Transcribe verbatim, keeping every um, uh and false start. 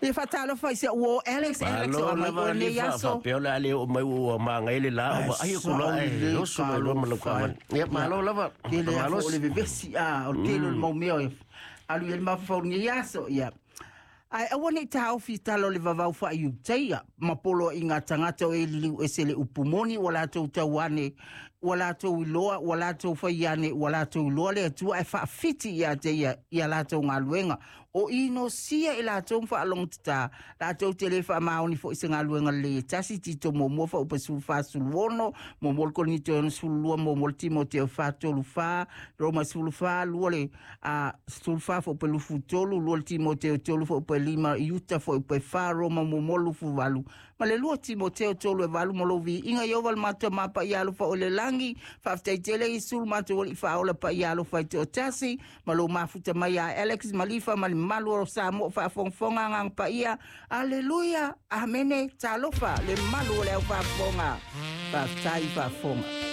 Ia faatalofa i si a'u uō Alex. Alex o Malo amai lava oe li nei fa aso. Faapea o le a le oo mai ua magai le la o vaai aku loa e oso mai loa ma lau taavale. Ia malo lava. Tele a Malosi. o le vevesi a o le tele o le mau mea e alu i ai le mafaufau i lenei aso. Ia ae aua nei taofi tala o le vavau faaiutaia ma poloaiga tagata o e liliu ese le upu moni ua latou tauane, ua latou iloa, ua latou faiane, ua latou iloa le Atua ae faafiti ia te ia ia latou galuega o inosia i latou ma faalogotatā latou te lē faamaoni foʻi se galuega lelei e tasi. Tito muamua faaupa sefulu fa sulu ono, muamua le Korinito ono sefulu lua, muamua le Timoteo fa tolu fa, Roma sefulu fa lua le a sefulu fa faaupa lufu tolu, lua le Timoteo tolu faaupa lima, Iuta faaupa fa, Roma muamua lufu valu ma le lua Timoteo tolu e valu. Mo lou viiga Ieova le matou mapaia alofa o le lagi, faafetai tele Iesu le matou alii faaola paia alofa i toatasi ma lou mafuta mai a Alex Malifa ma le mamalu o Samoa faafogafoga. Agaga paia, aleluia, amene. Talofa le malu o le au faafofoga, faafetai faafofoga.